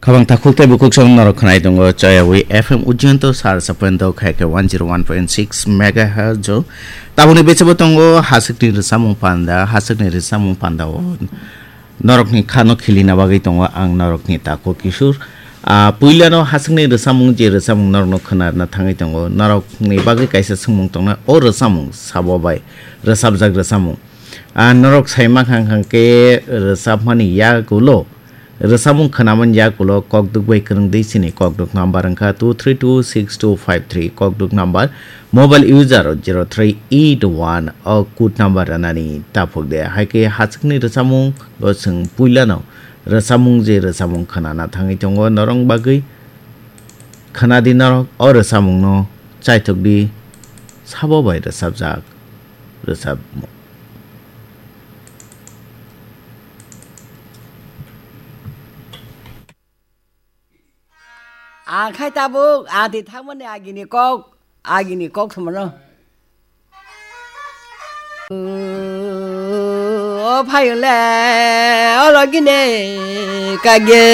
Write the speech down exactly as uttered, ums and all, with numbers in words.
Khabang takhuk tei bukhuk song norok khwnai tongo Choyawi F M Ujjayanta sar sapendo khaikhe one zero one point six megahertz o. Taboni bechebo tongo hasukni rwchapmung panda, hasukni rwchapmung panda o norokni khano khilina bagwi tongo ang norokni takhuk Kishore. Ah, puilano hasukni rwchapmung je rwchapmung norokno khwnarna thangwi tongo. Norokni bagwi kaisa swngmung tongnai o rwchapmung sabo bai rwchapjak rwchapmung. Ah, norok sai mankha hwnkhe rwchapmani yagulo Rwchapmung khwnamani yagulo kokduk bai kwrwngdi chini kokduk number wngkha two three two six two five three, kokduk number mobile user zero three eight one o code number rwnani taphuk de. Hai khe hachwkni rwchapmung o chwng puilano rwchapmung je rwchapmung khwnana thangwi tongo norok bagwi khwnadi norok o rwchapmungno chaithokdi sabo bai rwchapjak rwchapmung. Ang khai tabuk, ang twi thangmani agini kok, agini kok samono. O phayung le, o logine kage.